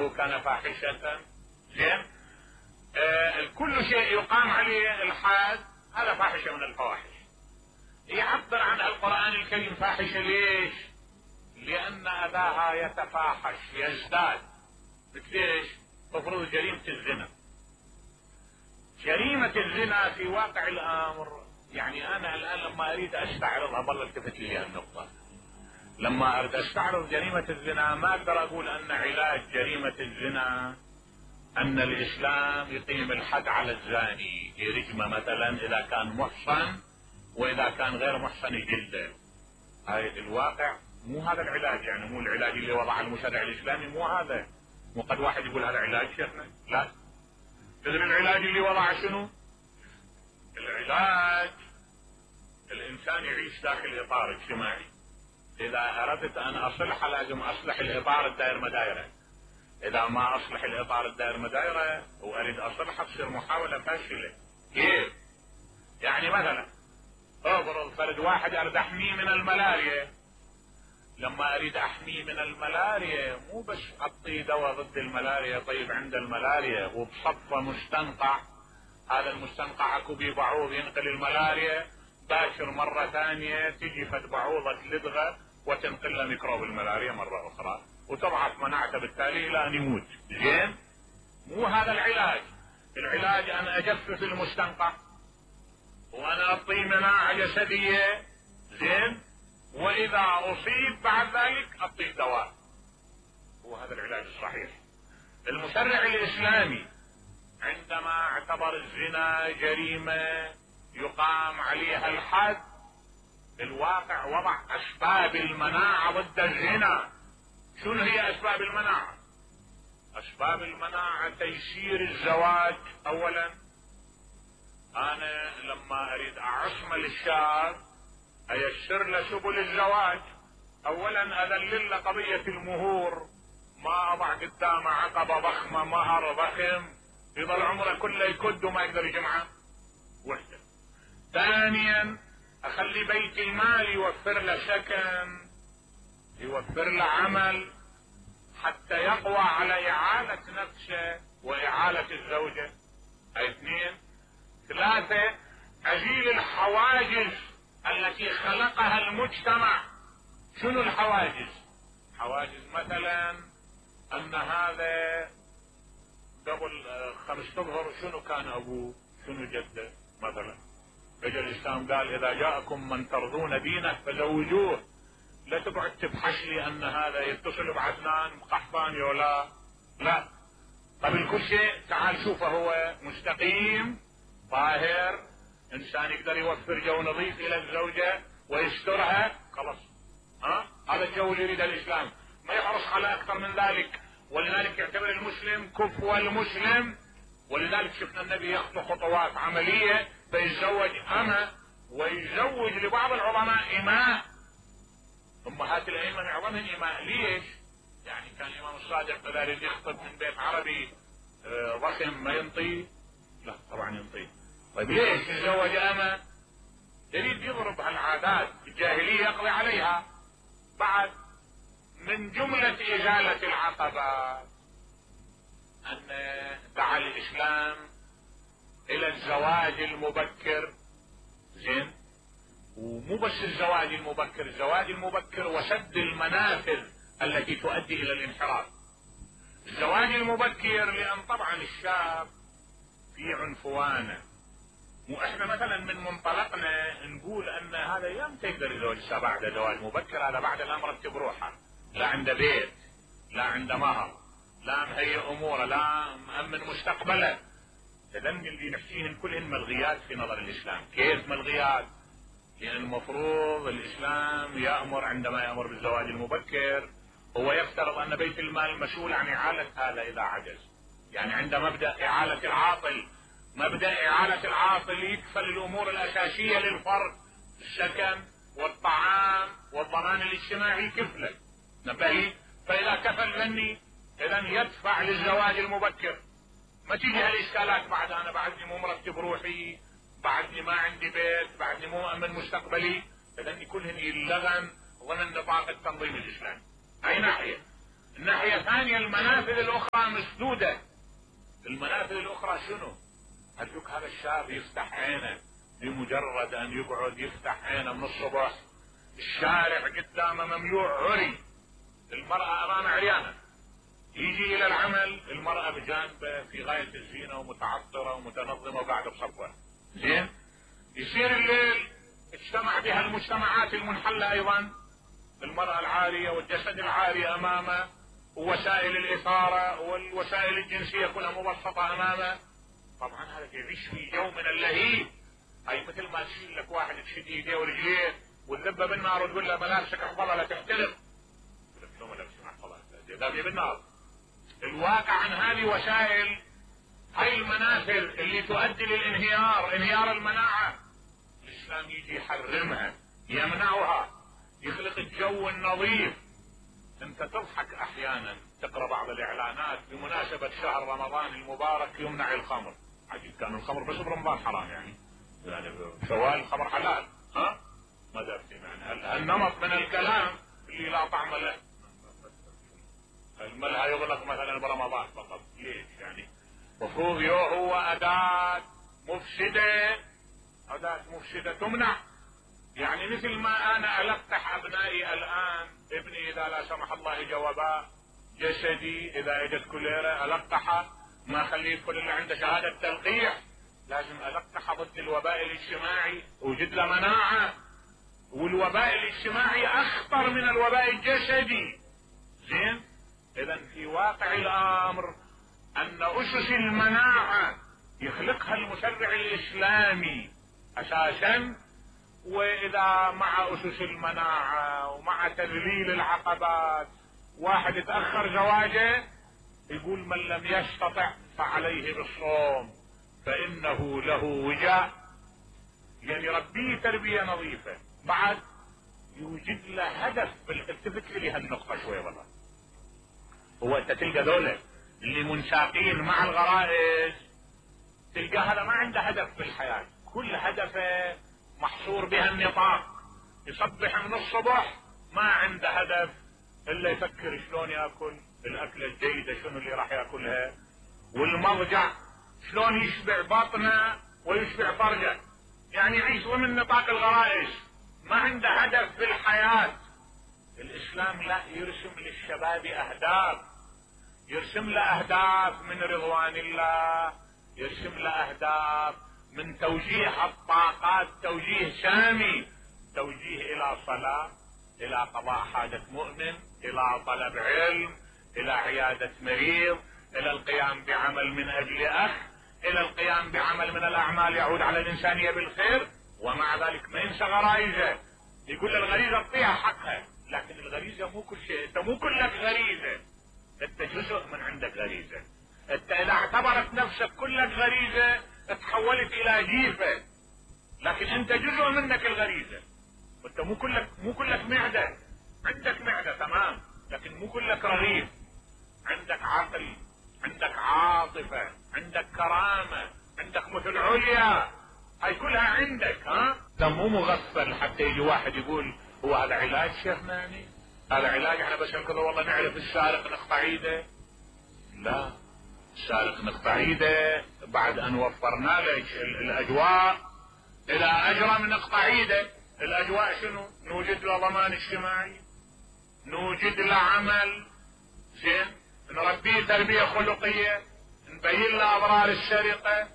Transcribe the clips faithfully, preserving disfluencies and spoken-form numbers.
فعله كان فاحشة. زين. آه كل شيء يقام عليه الحد هذا فاحشة من الفواحش. يعبر عن القرآن الكريم فاحشة ليش؟ لأن أداها يتفاحش يزداد. ليش؟ تفرض جريمة الزنا. جريمة الزنا في واقع الأمر، يعني أنا الآن لما أريد أستعرضها بالله التفت لي النقطة، لما أريد أستعرض جريمة الزنا ما أقدر أقول أن علاج جريمة الزنا أن الإسلام يقيم الحد على الزاني، يرجمه مثلا إذا كان محصن، وإذا كان غير محصن يجلده. هاي الواقع مو هذا العلاج، يعني مو العلاج اللي وضعه المشرع الإسلامي، مو هذا. مو قد واحد يقول هذا علاج شيخنا، لا. تدري العلاج اللي وضعه شنو؟ العلاج الإنسان يعيش داخل إطار اجتماعي. إذا أردت أن أصلحه لازم أصلح الإطار الدائر مدايرة. إذا ما أصلح الإطار الدائر مدايرة وأريد أصلحه تصير محاولة فاشلة. كيف؟ يعني مثلا افرض فرد واحد أريد أحميه من الملاريا. لما أريد أحميه من الملاريا مو بس أعطيه دواء ضد الملاريا، طيب عند الملاريا وبصفة مستنقع، هذا المستنقع اكو بيه بعوض ينقل الملاريا، باشر مرة ثانية تجي فد بعوضة لدغة وتنقل له ميكروب الملاريا مرة أخرى وتضعف مناعته بالتالي إلى أن يموت. زين؟ مو هذا العلاج. العلاج أن أجفف المستنقع وأنا أعطيه مناعة جسدية. زين؟ وإذا أصيب بعد ذلك أعطيه دواء. هو هذا العلاج الصحيح. المشرع الإسلامي عندما اعتبر الزنا جريمة يقام عليها الحد، الواقع وضع أسباب المناعة ضد الزنا. شنو هي أسباب المناعة؟ أسباب المناعة تيسير الزواج. أولا أنا لما أريد أعصم للشاب أيسر له سبل الزواج. أولا أذلل له قضية المهور، ما أضع قدامه عقبة ضخمة مهر ضخم يظل عمره كله يكد وما يقدر يجمعه. وحدة. ثانيا أخلي بيت المال يوفر له سكن، يوفر له عمل حتى يقوى على إعالة نفسه وإعالة الزوجة. اثنين. ثلاثة أزيل الحواجز التي خلقها المجتمع. شنو الحواجز؟ حواجز مثلا أن هذا قبل خمس اشهر شنو كان أبوه، شنو جده مثلا. اجى الإسلام قال إذا جاءكم من ترضون دينه فزوجوه. لا تقعد تبحث لي أن هذا يتصل بعدنان قحطاني ولا لا. قبل كل شيء تعال شوفه هو مستقيم طاهر، إنسان يقدر يوفر جو نظيف إلى الزوجة ويسترها، خلاص. ها؟ هذا الجو اللي يريده الإسلام، ما يحرص على أكثر من ذلك. ولذلك يعتبر المسلم كفو المسلم. ولذلك شفنا النبي يخطو خطوات عملية فيتزوج أمة ويزوج لبعض العظماء إماء. أمهات الأئمة معظمهم إماء. ليش؟ يعني كان الإمام الصادق إذا يريد يخطب من بيت عربي ضخم ما ينطي؟ لا طبعا ينطي. طيب ليش يتزوج أمة؟ يريد يضرب هالعادات الجاهلية يقضي عليها. بعد من جملة إزالة العقبات أن دعا الإسلام إلى الزواج المبكر. زين؟ ومو بس الزواج المبكر، الزواج المبكر وسد المنافذ التي تؤدي إلى الانحراف. الزواج المبكر لأن طبعا الشاب في عنفوانه. مو احنا مثلا من منطلقنا نقول ان هذا يوم تقدر يتزوج بعد زواج مبكر، هذا بعد الامر بروحه، لا عنده بيت، لا عنده مهر، لا مهيئ اموره، لا مأمن مستقبله. تدن اللي نحكيهن كلهن ملغيات في نظر الاسلام. كيف ملغيات؟ لان المفروض الاسلام يأمر عندما يأمر بالزواج المبكر هو يفترض ان بيت المال مسؤول عن اعالة هذا اذا عجز. يعني عند مبدأ اعالة العاطل، مبدأ إعالة العاطل يكفل الأمور الأساسية للفرد، السكن والطعام والضمان الاجتماعي كفله. نبهي. فإذا كفل مني إذن يدفع للزواج المبكر. ما تيجي هالإشكالات بعد أنا بعدني مو مرتب روحي، بعدني ما عندي بيت، بعدني مو مؤمن مستقبلي. إذن كلهن يلغن ضمن نطاق التنظيم الإسلامي. أي ناحية؟ الناحية الثانية المنافذ الاخرى مسدودة. المنافذ الاخرى شنو؟ هدوك هذا الشاب يفتح عينه بمجرد ان يقعد يفتح عينه من الصبح الشارع قدامه مملوء عري، المرأة امامه عريانة، يجي الى العمل المرأة بجانبه في غاية الزينة ومتعطرة ومتنظمة وقاعدة بصفوة. زين؟ يصير الليل اجتمع بها المجتمعات المنحلة ايضا، المرأة العارية والجسد العاري امامه ووسائل الاثارة والوسائل الجنسية كلها مبسطة امامه. طبعا هذا يعيش في جو من اللهيب. هاي مثل ما تشيل لك واحد تشد ايديه ورجليه وتذبه بالنار وتقول له ملابسك احفظها لا تحترق. شو ملابسك احفظها؟ ذابيه بالنار. الواقع عن هذه وسائل، هاي المنافذ اللي تؤدي للانهيار، انهيار المناعة، الاسلام يجي يحرمها، يمنعها، يخلق الجو النظيف. انت تضحك احيانا تقرا بعض الاعلانات بمناسبة شهر رمضان المبارك يمنع الخمر. عجيب، كان الخمر بس برمضان حرام يعني، يعني شوال الخمر حلال. ها؟ ماذا في معنى النمط من الكلام اللي لا طعم له؟ الملها يغلق مثلا برمضان فقط، ليش يعني؟ مفروض يو هو اداة مفسدة، اداة مفسدة تمنع. يعني مثل ما انا القح ابنائي الان، ابني اذا لا سمح الله جوابا جسدي اذا اجت كوليرا القحه، ما اخليه يدخل الا عنده شهادة تلقيح، لازم القحه ضد الوباء الاجتماعي، وجد له مناعة. والوباء الاجتماعي اخطر من الوباء الجسدي. زين؟ اذا في واقع الامر ان اسس المناعة يخلقها المشرع الاسلامي اساسا، واذا مع اسس المناعة ومع تذليل العقبات واحد اتأخر زواجه، يقول من لم يستطع فعليه بالصوم فانه له وجاء. يعني ربيه تربية نظيفة، بعد يوجد له هدف. التفت لي هالنقطة شوي والله. هو انت تلقى دولة اللي منساقين مع الغرائز، تلقى هذا ما عنده هدف في الحياة، كل هدفه محصور بها النطاق. يصبح من الصبح ما عنده هدف الا يفكر شلون ياكل الاكلة الجيدة، شنو اللي راح ياكلها، والمضجع شلون يشبع بطنه ويشبع فرجه. يعني يعيش ضمن نطاق الغرائز، ما عنده هدف في الحياة. الاسلام لا، يرسم للشباب اهداف، يرسم له اهداف من رضوان الله، يرسم له اهداف من توجيه الطاقات توجيه سامي، توجيه الى صلاة، الى قضاء حاجة مؤمن، الى طلب علم، الى عيادة مريض، الى القيام بعمل من اجل اخ، الى القيام بعمل من الاعمال يعود على الانسانية بالخير. ومع ذلك ما ينسى غرائزه، يقول الغريزة اعطيها حقها، لكن الغريزة مو كل شيء، انت مو كلك غريزة، انت جزء من عندك غريزة. انت اذا اعتبرت نفسك كلك غريزة تحولت الى جيفة، لكن انت جزء منك الغريزة. وانت مو كلك مو كلك معدة، عندك معدة تمام، لكن مو كلك رغيف. عندك عقل، عندك عاطفة، عندك كرامة، عندك مثل عليا، هاي كلها عندك. ها؟ ده مو مغفل حتى يجي واحد يقول هو هذا علاج شيخنا، يعني هذا علاج احنا بس كذا والله نعرف السارق نقطع ايده. لا، السارق نقطع ايده بعد ان وفرنا له الاجواء. اذا اجرم نقطع ايده. الاجواء شنو؟ نوجد له ضمان اجتماعي، نوجد له عمل زين، نربيه تربية خلقية، نبين له اضرار السرقة،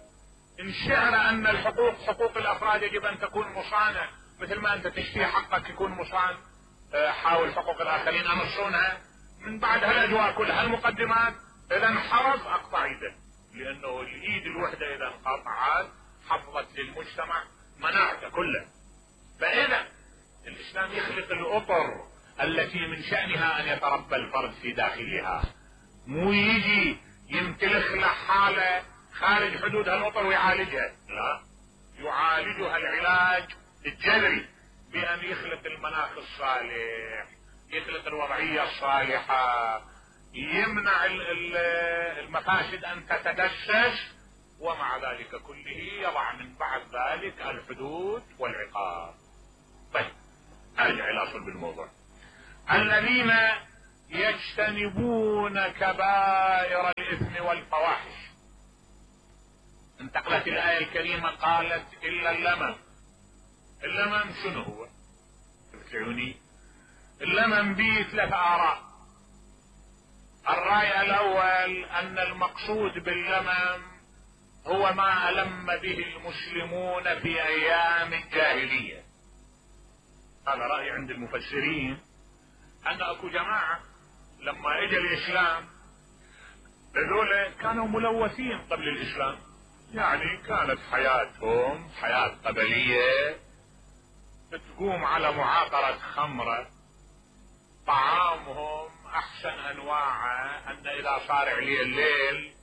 نشعر ان الحقوق حقوق الافراد يجب ان تكون مصانة، مثل ما انت تشتري حقك يكون مصان، حاول حقوق الاخرين امصونها. من بعد هالاجواء كلها المقدمات، اذا انحرف اقطع ايده، لانه الايد الوحدة اذا انقطعت حفظت للمجتمع مناعته كله. فاذا الاسلام يخلق الاطر التي من شأنها ان يتربى الفرد في داخلها، مو يجي يمتلخ له حالة خارج حدود هالاطر ويعالجها، لا، يعالجها العلاج الجذري بان يخلق المناخ الصالح، يخلق الوضعية الصالحة، يمنع المفاسد ان تتدسس، ومع ذلك كله يضع من بعد ذلك الحدود والعقاب. طيب ارجع الى صلب الموضوع. الذين يجتنبون كبائر الإثم والفواحش. انتقلت الآية الكريمة قالت إلا اللمم. اللمم شنو هو؟ تفكروني؟ اللمم به ثلاث آراء. الرأي الأول أن المقصود باللمم هو ما ألم به المسلمون في أيام الجاهلية. هذا رأي عند المفسرين، أن أكو جماعة لما اجى الإسلام هذول كانوا ملوثين قبل الإسلام، يعني كانت حياتهم حياة قبلية تقوم على معاقرة خمرة، طعامهم أحسن أنواعه أن إذا صار عليه الليل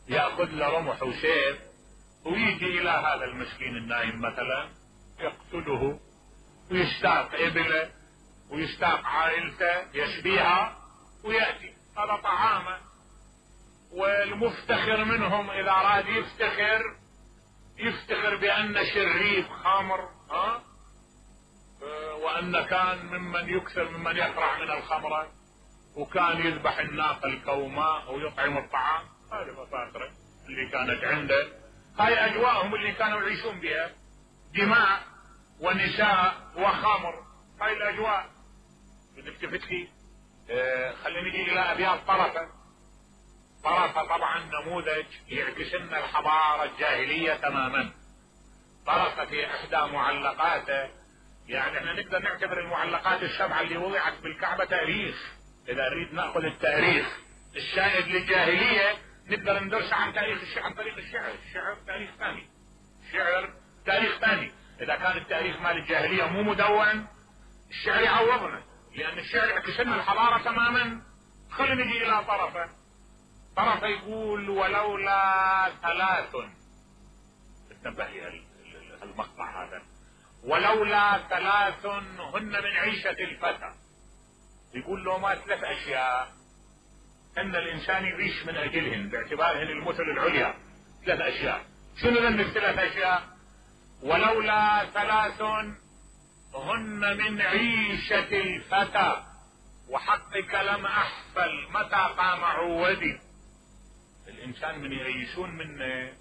يأخذ له رمح وسيف ويجي إلى هذا المسكين النايم مثلا يقتله ويستاق إبله ويستاق عائلته يشبيها ويأتي. هذا طعامه. والمفتخر منهم إذا أراد يفتخر يفتخر بأن شريف خمر، ها وأن كان ممن يكثر ممن يقرع من الخمرة، وكان يذبح الناقة الكوماء ويطعم الطعام. هذه مفاخره اللي كانت عنده، هاي أجواءهم اللي كانوا يعيشون بها، دماء ونساء وخمر، هاي الأجواء. نلتفت لي اه خلينا نجي إلى أبيات طرفة. طرفة طبعا نموذج يعكس لنا الحضارة الجاهلية تماما. طرفة في إحدى معلقاته، يعني احنا نقدر نعتبر المعلقات السبعة اللي وضعت بالكعبة تاريخ، إذا نريد نأخذ التاريخ الشائد للجاهلية نقدر ندرس عن تاريخ الشعر عن طريق الشعر. الشعر تاريخ ثاني، الشعر تاريخ ثاني. إذا كان التاريخ مال الجاهلية مو مدون الشعر يعوضنا، لأن الشعر يعكس لنا الحضارة تماما. خلينا نجي إلى طرفة. طرفة يقول ولولا ثلاث، انتبه لي المقطع هذا، ولولا ثلاث هن من عيشة الفتى. يقول له ما ثلاث أشياء أن الإنسان يعيش من أجلهن باعتبارهن المثل العليا. ثلاث أشياء. شنو ذن الثلاث أشياء؟ ولولا ثلاث هن من عيشة الفتى وحقك لم أحفل متى قام عودي. الإنسان من يعيشون منه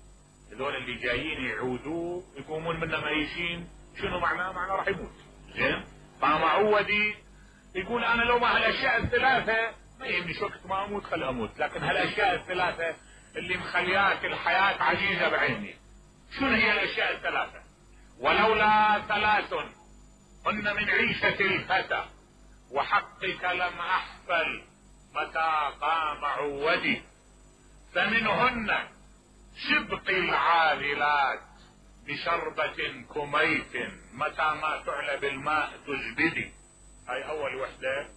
هذول اللي جايين يعودوه يقومون منه ميشين، شنو معناه؟ معناه راح يموت. زين؟ قام عودي يقول أنا لو ما هالأشياء الثلاثة ما يهمني شو وقت ما أموت خل أموت، لكن هالأشياء الثلاثة اللي مخليات الحياة عزيزة بعيني. شنو هي الأشياء الثلاثة؟ ولولا ثلاث هن من عيشة الفتى وحقك لم أحفل متى قام عودي. فمنهن سبق العاذلات بشربة كميت متى ما تعلى بالماء تزبدي. هاي أول وحدة،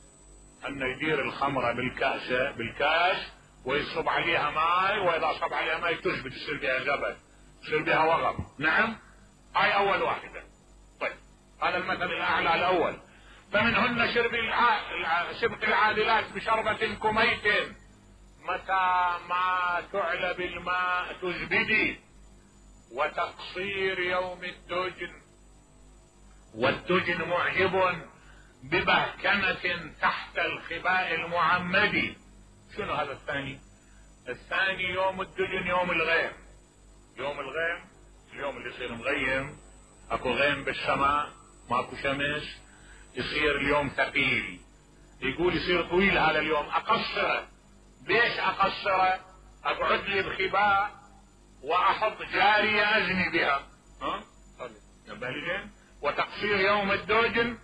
أن يدير الخمرة بالكاسة بالكاس ويصب عليها ماء، وإذا صب عليها ماء تزبد يصير بها زبد يصير بها وغب. نعم، هاي أول واحدة. طيب هذا المثل الأعلى الأول. فمنهن شرب الع... سبق العادلات بشربة كميت متى ما تعلى بالماء تزبدي. وتقصير يوم الدجن، والدجن معجب ببهكنة تحت الخباء المعمدي. شنو هذا الثاني؟ الثاني يوم الدجن يوم الغيم. يوم الغيم اليوم اللي يصير مغيم، اكو غيم بالسماء ماكو شمس، يصير اليوم ثقيل. يقول يصير طويل هذا اليوم، اقصره. ليش اقصره؟ اقعد لي بخباء واحط جارية ازني بها. ها نبهلين. وتقصير يوم الدجن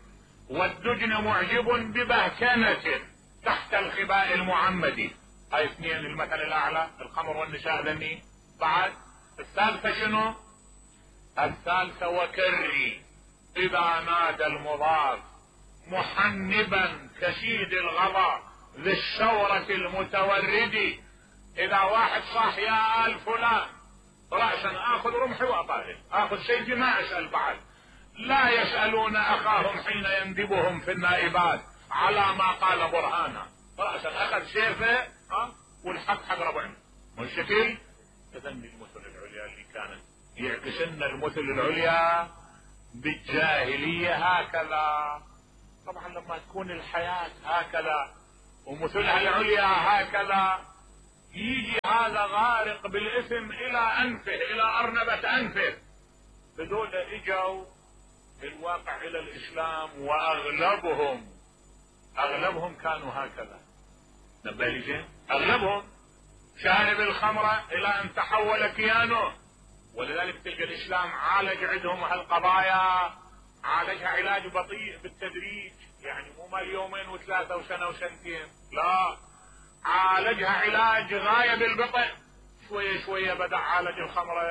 والدجن معجب ببهكنة تحت الخباء المعمدي. هاي اثنين المثل الاعلى، الخمر والنساء ذني. بعد الثالثة شنو؟ الثالثة وكري اذا نادى المضاف محنبا كشيد الغضا ذي الشورة المتوردي. اذا واحد صاح يا آل فلان رأسا اخذ رمحي واطارد، اخذ سيفي ما اسأل بعد. لا يسألون اخاهم حين يندبهم في النائبات على ما قال برهانا. رأسا اخذ سيفه ها والحق حق ربعنا. والشكل تذني المثل العليا اللي كانت يعكس لنا المثل العليا بالجاهلية هكذا. طبعا لما تكون الحياة هكذا ومثلها العليا هكذا، يجي هذا غارق بالاسم الى انفه، الى ارنبة انفه. هذول اجوا الواقع الى الاسلام، واغلبهم اغلبهم كانوا هكذا. نبالي زين، اغلبهم شارب الخمرة الى ان تحول كيانه. ولذلك تلقى الاسلام عالج عندهم هالقضايا، عالجها علاج بطيء بالتدريج، يعني مو مال يومين وثلاثة وسنة وسنتين، لا، عالجها علاج غاية بالبطء. شوية شوية بدأ عالج الخمرة،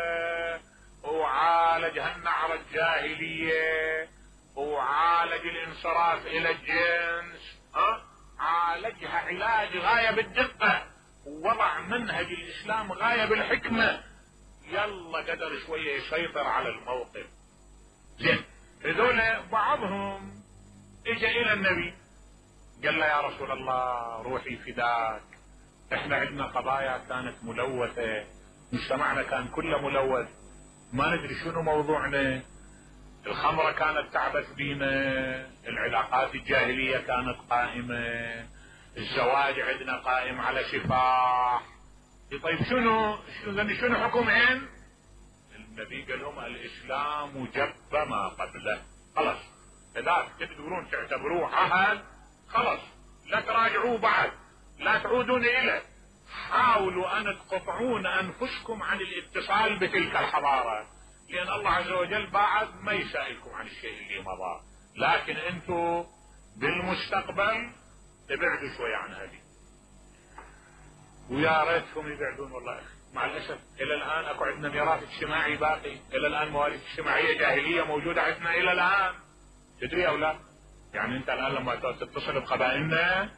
وعالج هالنعرة الجاهلية، وعالج الانصراف الى الجنس، ها؟ عالجها علاج غاية بالدقة، ووضع منهج الاسلام غاية بالحكمة. يلا قدر شوية يسيطر على الموقف. زين، هذول بعضهم اجا الى النبي قال له يا رسول الله روحي فداك، احنا عندنا قضايا كانت ملوثة، مجتمعنا كان كله ملوث، ما ندري شنو موضوعنا. الخمرة كانت تعبث بينا، العلاقات الجاهلية كانت قائمة، الزواج عندنا قائم على سفاح. طيب شنو شنو شنو حكمهن؟ النبي قال لهم الاسلام جب ما قبله، خلص اذا تقدرون تعتبروه عهد خلص لا تراجعوه بعد، لا تعودون اليه، حاولوا ان تقطعون انفسكم عن الاتصال بتلك الحضارة، لان الله عز وجل بعد ما يسائلكم عن الشيء اللي مضى، لكن انتم بالمستقبل ابعدوا شوي عن هذه. ويا ريتهم يبعدون والله. مع الاسف الى الان اكو عندنا ميراث اجتماعي باقي، الى الان مواريث اجتماعيه جاهليه موجوده عندنا الى الان. تدري او لا؟ يعني انت الان لما تتصل بقبائلنا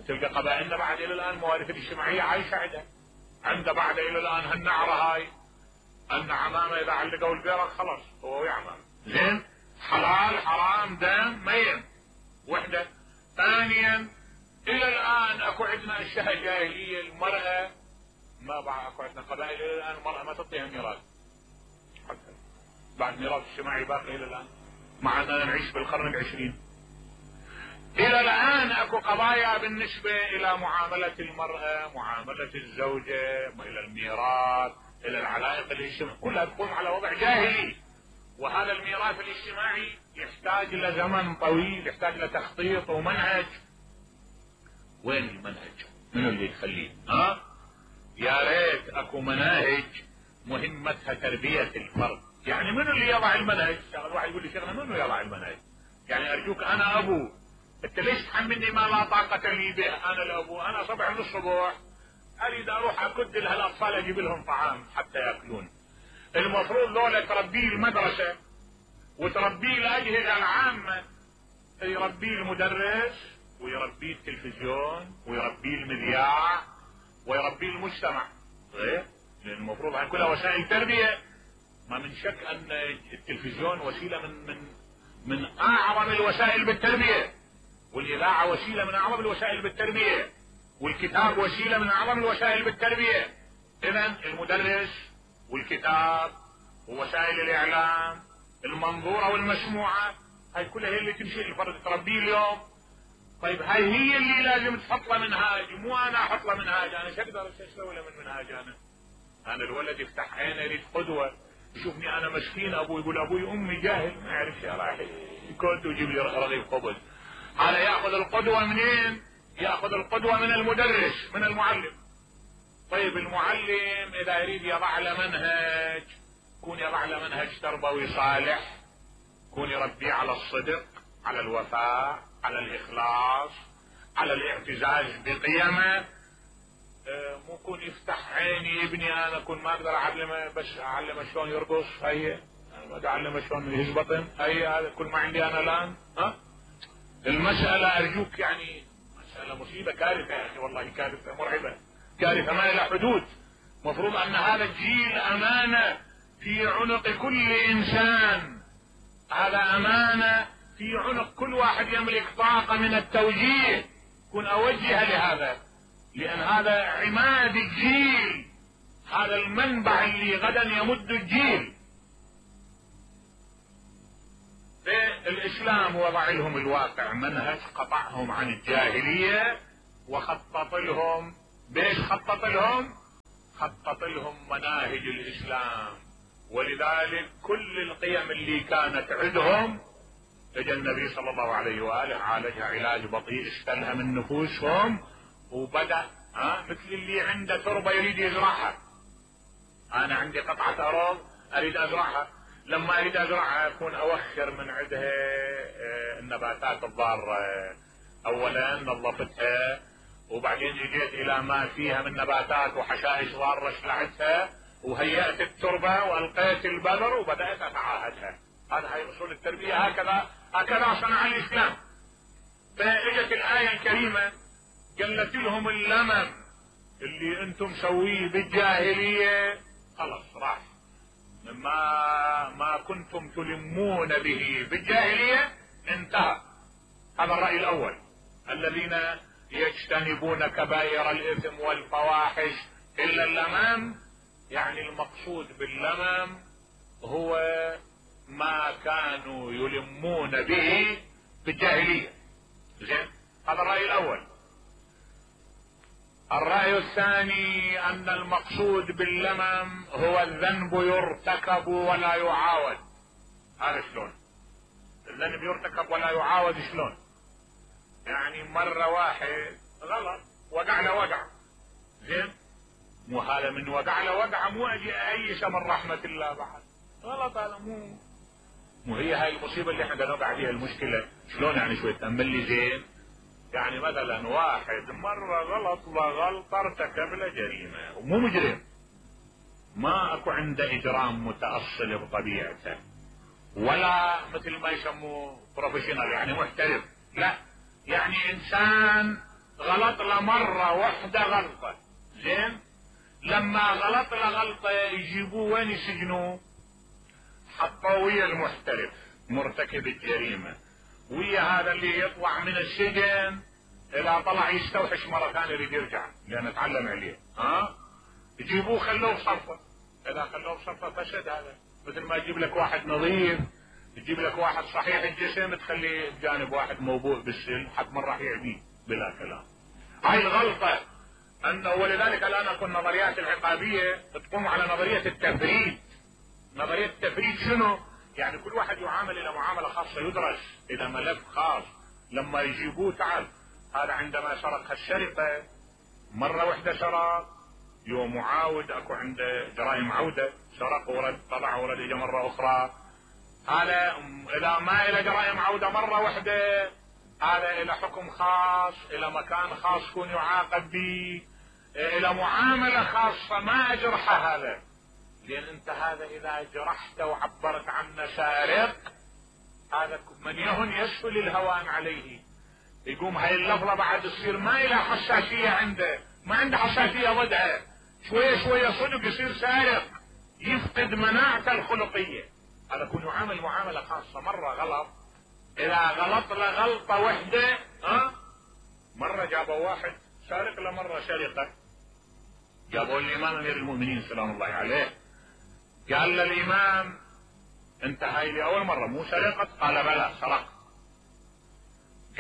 تلقى قبائلنا بعد الى الان مواريث الاجتماعيه عايشه عندها. عنده بعد الى الان هالنعره هاي، ان عمامه اذا علقوا البيرق خلاص هو ويا عمامه. زين، حلال حرام دم ميت. وحده. ثانيا الى الان اكو عندنا اشياء جاهليه، المرأة ما بعد اكو عندنا قبائل الى الان المرأة ما تعطيها ميراث، حتى بعد ميراث اجتماعي باقي الى الان، مع اننا نعيش بالقرن العشرين. الى الان اكو قضايا بالنسبة الى معاملة المرأة، معاملة الزوجة، الى الميراث، الى العلائق الاجتماعية، كلها تقوم على وضع جاهلي. وهذا الميراث الاجتماعي يحتاج الى زمن طويل، يحتاج الى تخطيط ومنهج. وين المنهج؟ منو اللي يخليه؟ ها؟ يا ريت اكو مناهج مهمتها تربية الفرد. يعني منو اللي يضع المنهج؟ الواحد يقول لي شيخنا منو يضع المنهج؟ يعني ارجوك انا ابو، انت ليش تحملني ما لا طاقة لي به؟ انا الابو، انا صبح من الصبح اريد اروح اكد لهالاطفال اجيب لهم طعام حتى ياكلون. المفروض ذولا تربيه المدرسة وتربيه الاجهزة العامة، يربيه المدرس ويربيه التلفزيون ويربيه المذياع ويربيه المجتمع. غير لان المفروض هاي كلها وسائل تربية. ما من شك ان التلفزيون وسيلة من من من اعظم الوسائل بالتربية، والاذاعة وسيلة من اعظم الوسائل بالتربية، والكتاب وسيلة من اعظم الوسائل بالتربية. اذا المدرس والكتاب ووسائل الاعلام المنظورة والمسموعة هاي كلها هي اللي تمشي الفرد تربيه اليوم. طيب هاي هي اللي لازم تحط له منهاج، مو انا احط له منهاج. انا شو اقدر اسوي له من منهاج؟ انا انا الولد يفتح عينه يريد قدوة، يشوفني انا مسكين ابوي يقول ابوي امي جاهل ما يعرف شيء، راح يكون ويجيب لي رغيف خبز. هذا ياخذ القدوة منين؟ ياخذ القدوة من المدرس، من المعلم. طيب المعلم اذا يريد يضع له منهج، يكون يضع له منهج تربوي صالح، يكون يربيه على الصدق، على الوفاء، على الاخلاص، على الاعتزاز بقيمه. مو يكون يفتح عيني ابني انا كون ما اقدر اعلمه، بس اعلمه شلون يرقص، هي ما اعلمه شلون يهز بطن، هي هذا كل ما عندي انا الان. ها المسألة ارجوك يعني مسألة مصيبة، كارثة يا اخي، والله كارثة مرعبة، كارثة ما لها حدود. مفروض ان هذا الجيل امانة في عنق كل انسان، هذا امانة في عنق كل واحد يملك طاقة من التوجيه، كن اوجه لهذا، لان هذا عماد الجيل، هذا المنبع اللي غدا يمد الجيل. الاسلام وضع لهم الواقع منهج، قطعهم عن الجاهلية وخطط لهم. بيش خطط لهم؟ خطط لهم مناهج الاسلام، ولذلك كل القيم اللي كانت عندهم اجى النبي صلى الله عليه واله عالجها علاج بطيء، استلها من نفوسهم وبدأ ها مثل اللي عنده تربة يريد يزرعها. انا عندي قطعة ارض اريد ازرعها، لما اريد ازرعها اكون اوخر من عندها النباتات الضارة، اولا نظفتها وبعدين اجيت الى ما فيها من نباتات وحشائش ضارة شلعتها وهيأت التربة والقيت البذر وبدأت اتعاهدها. هذا هي اصول التربية، هكذا هكذا صنع الاسلام. فاجت الآية الكريمة قالت لهم اللمم اللي انتم سويه بالجاهلية خلاص راح، ما ما كنتم تلمون به بالجاهلية انتهى. هذا الرأي الأول. الذين يجتنبون كبائر الإثم والفواحش إلا اللمم، يعني المقصود باللمم هو ما كانوا يلمون به بالجاهلية. زين، هذا الرأي الأول. الرأي الثاني أن المقصود باللمم هو الذنب يرتكب ولا يعاود. هذا شلون؟ الذنب يرتكب ولا يعاود شلون؟ يعني مرة واحد غلط وقع له وقع، زين، مو هذا من وقع له وقع مو اجي ايش من رحمة الله بعد، غلط هذا، مو مو هي هاي المصيبة اللي احنا قاعدين نوقع فيها المشكلة. شلون يعني؟ شوي تأمل لي زين. يعني مثلا واحد مرة غلط وغلط ارتكب له جريمة ومو مجرم، ما اكو عنده اجرام متأصل بطبيعته ولا مثل ما يسموه بروفيشنال يعني محترف، لا، يعني انسان غلط له مرة واحدة غلطة، زين، لما غلط له غلطة يجيبوه وين يسجنوه؟ حطوه ويا المحترف مرتكب الجريمة، ويا هذا اللي يطلع من السجن اذا طلع يستوحش مرة ثانية يريد يرجع لان اتعلم عليه، ها يجيبوه خلوه بصفة، اذا خلوه بصفة فسد. هذا مثل ما يجيب لك واحد نظيف، تجيب لك واحد صحيح الجسم تخليه بجانب واحد موبوء بالسن حتى من راح يعديه بلا كلام. هاي الغلطة انه، ولذلك الان اكو النظريات العقابية تقوم على نظرية التفريد. نظرية التفريد شنو؟ يعني كل واحد يعامل الى معاملة خاصة، يدرس الى ملف خاص. لما يجيبوه تعال هذا عندما سرق السرقة مرة واحدة سرق، يوم معاود اكو عنده جرائم عودة، سرق ورد طلع ورد اجى مرة اخرى، هذا اذا ما الى جرائم عودة مرة واحدة هذا الى حكم خاص، الى مكان خاص يكون يعاقب به، الى معاملة خاصة ما اجرحه هذا. لان انت هذا اذا جرحته وعبرت عنه سارق، هذا من يهن يسهل الهوان عليه، يقوم هاي اللفظة بعد تصير ما الى حساسية عنده، ما عنده حساسية ضدها، شوية شوية صدق يصير سارق، يفقد مناعته الخلقية. هذا يكون يعامل معاملة خاصة. مرة غلط، اذا غلط له غلطة وحدة، ها مرة جابوا واحد سارق له مرة سرقة، جابوا الامام امير المؤمنين سلام الله عليه، قال للامام انت هاي لي اول مرة مو سرقت؟ قال بلى سرقت.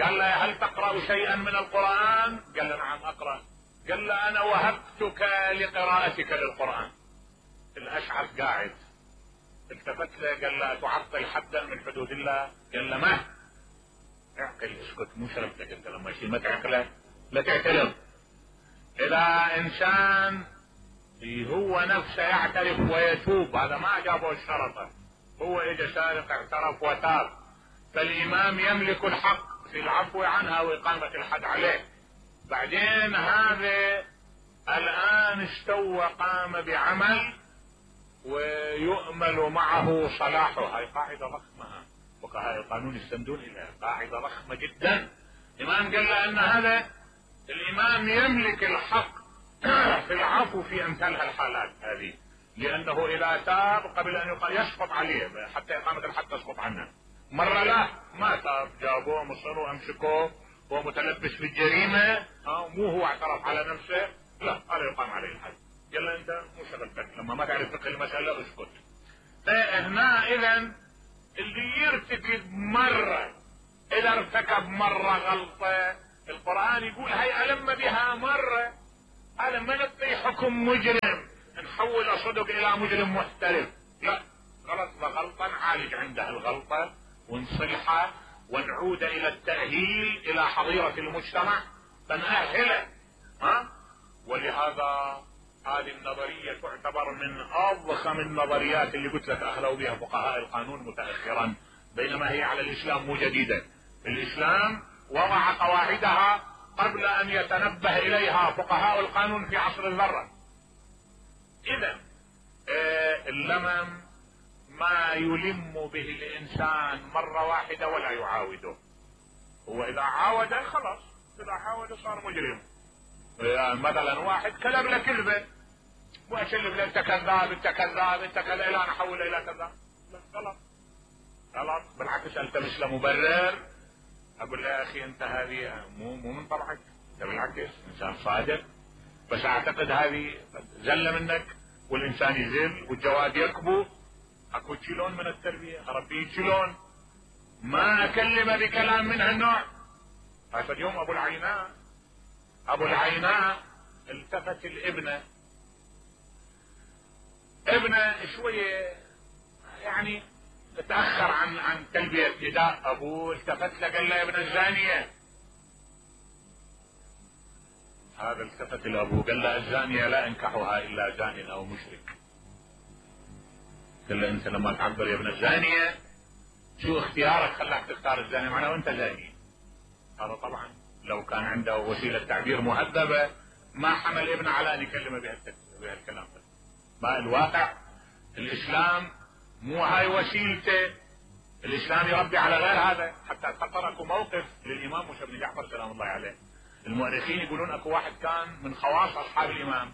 قال له هل تقرأ شيئا من القرآن؟ قال له نعم اقرأ. قال له انا وهبتك لقراءتك للقرآن. الاشعث قاعد التفت له قال له تعطل حدا من حدود الله؟ قال له ما اعقل، اسكت، مو شرفتك انت لما يصير ما تعقله لا تعترض. اذا انسان هو نفسه يعترف ويتوب، هذا ما جابه الشرطة، هو اجى سارق اعترف وتاب، فالامام يملك الحق في العفو عنها واقامة الحد عليه. بعدين هذا الان استوى قام بعمل ويؤمل معه صلاحه، هاي قاعدة ضخمة، فقهاء القانون يستندون اليها، قاعدة ضخمة جدا. الامام قال له ان هذا الامام يملك الحق في العفو في امثال هالحالات هذه، لانه اذا تاب قبل ان يسقط عليه حتى اقامة الحد تسقط عنه. مرة لا ما تاب، جابوه مصروا امسكوه هو متلبس بالجريمة، مو هو اعترف على نفسه، لا هذا يقام عليه الحد. قال له انت مو شغلتك، لما ما تعرف فقه المسألة اسكت. فهنا اذا اللي يرتكب مرة، اذا ارتكب مرة غلطة القرآن يقول هي ألم بها مرة، هذا ما نعطي حكم مجرم نحول صدق الى مجرم محترف، لا، غلط غلطة نعالج عنده الغلطة ونصلحه ونعود الى التأهيل الى حظيرة المجتمع فنأهله. ها؟ ولهذا هذه النظرية تعتبر من اضخم النظريات اللي قلت لك اخذوا بها فقهاء القانون متأخرا، بينما هي على الاسلام مو جديدة. الاسلام وضع قواعدها قبل ان يتنبه اليها فقهاء القانون في عصر الذرة. اذا آه اللمم ما يلم به الانسان مرة واحدة ولا يعاوده، هو اذا عاوده خلاص، اذا عاوده صار مجرم. يعني مثلا واحد كلب له كذبة واشلف له انت كذاب انت كذاب انت كذاب الى ان احوله الى كذاب، غلط غلط، بالعكس التمس له مبرر، اقول له يا اخي انت هذه مو مو من طبعك، انت بالعكس انسان صادق، بس اعتقد هذه زله منك والانسان يزل والجواد يكبو، اكو شلون من التربيه اربيه شلون، ما اكلمه بكلام من هالنوع. هذا اليوم ابو العيناء ابو العيناء التفت الابنه، ابنه شويه يعني تاخر عن عن تلبيه نداء ابوه، التفت له قال له يا ابن الزانيه. هذا التفت لابوه قال له الزانيه لا انكحها الا زان او مشرك. قال له انت لما تعبر يا ابن الزانيه شو اختيارك خلاك تختار الزانيه معناه وانت زاني. هذا طبعا لو كان عنده وسيله تعبير مهذبه ما حمل ابنه على ان يكلمه بهالكلام ده. ما الواقع الاسلام مو هاي وسيلته، الاسلام يربي على غير هذا. حتى خطر اكو موقف للامام موسى بن جعفر سلام الله عليه، المؤرخين يقولون اكو واحد كان من خواص اصحاب الامام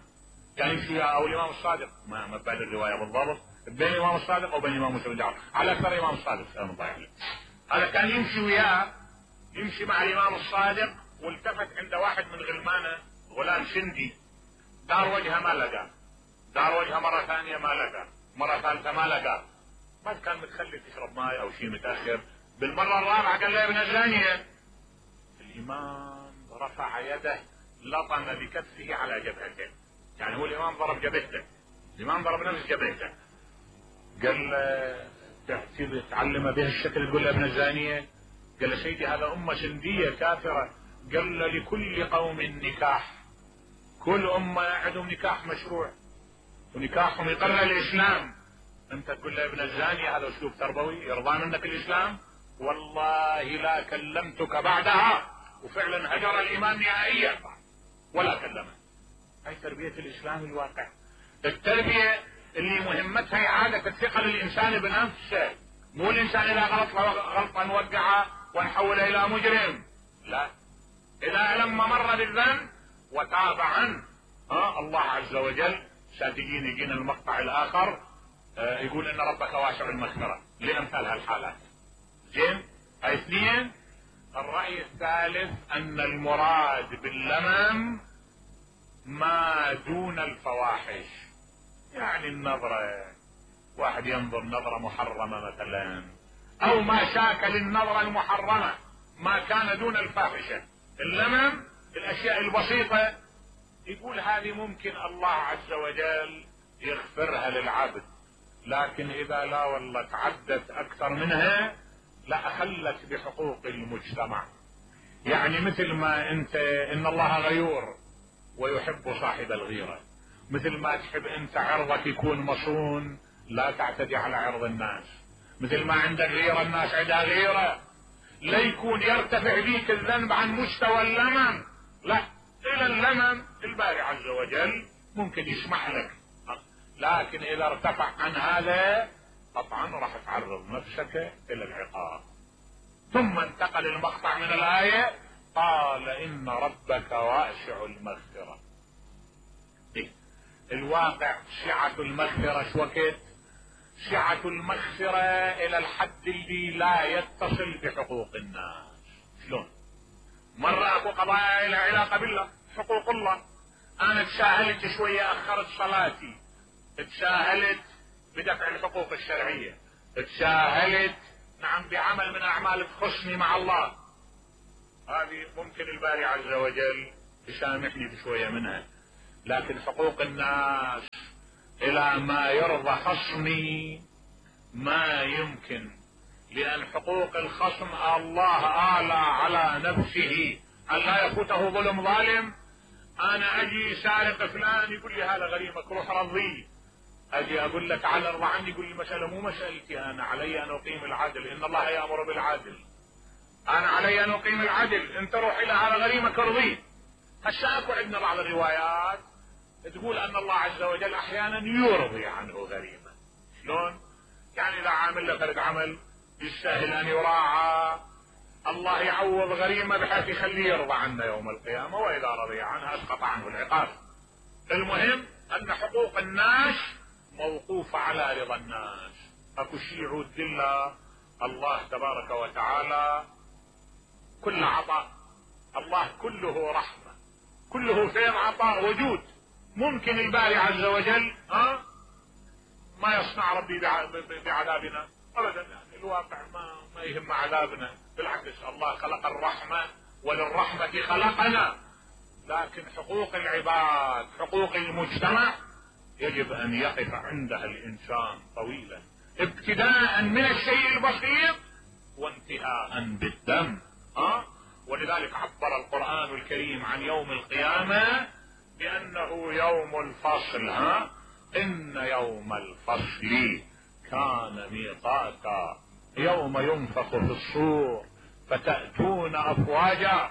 كان يمشي او الامام الصادق، ما ما بعد الروايه بالضبط بين الامام الصادق وبين الامام موسى بن جعفر، على اكثر الامام الصادق سلام الله عليه. هذا كان يمشي وياه، يمشي مع الامام الصادق، والتفت عند واحد من غلمانه غلام سندي، دار وجهه ما لقى، دار وجهه مره ثانيه ما لقى، مره ثالثه ما لقى، ما كان متخلي تشرب ماي او شيء متاخر، بالمره الرابعه قال له يا ابن الزانيه. الامام رفع يده لطم بكفه على جبهته، يعني هو الامام ضرب جبهته، الامام ضرب نفس جبهته، قال له تعتبر تعلم بهالشكل تقول له ابن الزانيه؟ قال له سيدي هذا امه سنديه كافره. قال له لكل قوم نكاح، كل امه عندهم نكاح مشروع ونكاحهم يقرر الاسلام، انت تقول له ابن الزانيه؟ هذا اسلوب تربوي يرضى منك الاسلام؟ والله لا كلمتك بعدها. وفعلا هجر الامام نهائيا ولا كلمه. هاي تربيه الاسلام الواقع، التربيه اللي مهمتها اعاده الثقه للانسان بنفسه، مو الانسان اذا غلط غلطه نوقعه ونحوله الى مجرم، لا، اذا لما مر بالذنب وتاب عنه ها الله عز وجل ساتجين يجينا المقطع الاخر آه يقول ان ربك واسع المغفره لامثال هالحالات. زين، هاي اثنين. الراي الثالث ان المراد باللمم ما دون الفواحش، يعني النظره، واحد ينظر نظره محرمه مثلا، او ما شاكل النظره المحرمه ما كان دون الفاحشه. اللمم الاشياء البسيطه يقول هذه ممكن الله عز وجل يغفرها للعبد، لكن اذا لا والله تعدت اكثر منها لا اخلت بحقوق المجتمع. يعني مثل ما انت ان الله غيور ويحب صاحب الغيرة، مثل ما تحب انت عرضك يكون مصون لا تعتدي على عرض الناس، مثل ما عندك غيرة الناس عندها غيرة، لا يكون يرتفع بيك الذنب عن مستوى اللمم، لا، الى اللمم الباري عز وجل ممكن يسمح لك، لكن اذا ارتفع عن هذا قطعا راح تعرض نفسك الى العقاب. ثم انتقل المقطع من الآية قال ان ربك واسع المغفرة. إيه؟ الواقع سعة المغفرة شو وقت؟ سعة المغفرة الى الحد اللي لا يتصل بحقوق الناس. شلون؟ مرة اكو قضايا لها علاقة بالله، حقوق الله، انا تساهلت شوية اخرت صلاتي، تساهلت بدفع الحقوق الشرعية، تساهلت نعم بعمل من اعمال تخصني مع الله، هذه ممكن الباري عز وجل يسامحني بشوية منها، لكن حقوق الناس الى ما يرضى خصمي ما يمكن، لان حقوق الخصم الله آلى على نفسه ان لا يفوته ظلم ظالم. انا اجي سارق فلان يقول لي هذا غريمك روح رضيه، اجي اقول لك تعال ارضى عني يقول لي المسألة مو مسألتي، انا علي ان اقيم العدل، ان الله يأمر بالعدل، انا علي ان اقيم العدل، انت روح الى هذا غريمك ارضيه. هسه اكو عندنا بعض الروايات تقول ان الله عز وجل احيانا يرضي عنه غريمه. شلون؟ يعني اذا عامل له فرد عمل يستاهل ان يراعى، الله يعوض غريمه بحيث يخليه يرضى عنه يوم القيامه، واذا رضي عنها اسقط عنه العقاب. المهم ان حقوق الناس موقوفه على رضا الناس، اكو شيء يعود لله الله تبارك وتعالى كل عطاء، الله كله رحمه، كله خير عطاء وجود. ممكن الباري عز وجل ها ما يصنع ربي بعذابنا ابدا، يعني الواقع ما ما يهم عذابنا، بالعكس الله خلق الرحمه وللرحمه خلقنا، لكن حقوق العباد حقوق المجتمع يجب ان يقف عندها الانسان طويلا، ابتداء من الشيء البسيط وانتهاء بالدم. ها ولذلك عبر القرآن الكريم عن يوم القيامة بأنه يوم الفصل. ها إن يوم الفصل كان ميقاتا، يوم ينفخ في الصور فتأتون أفواجا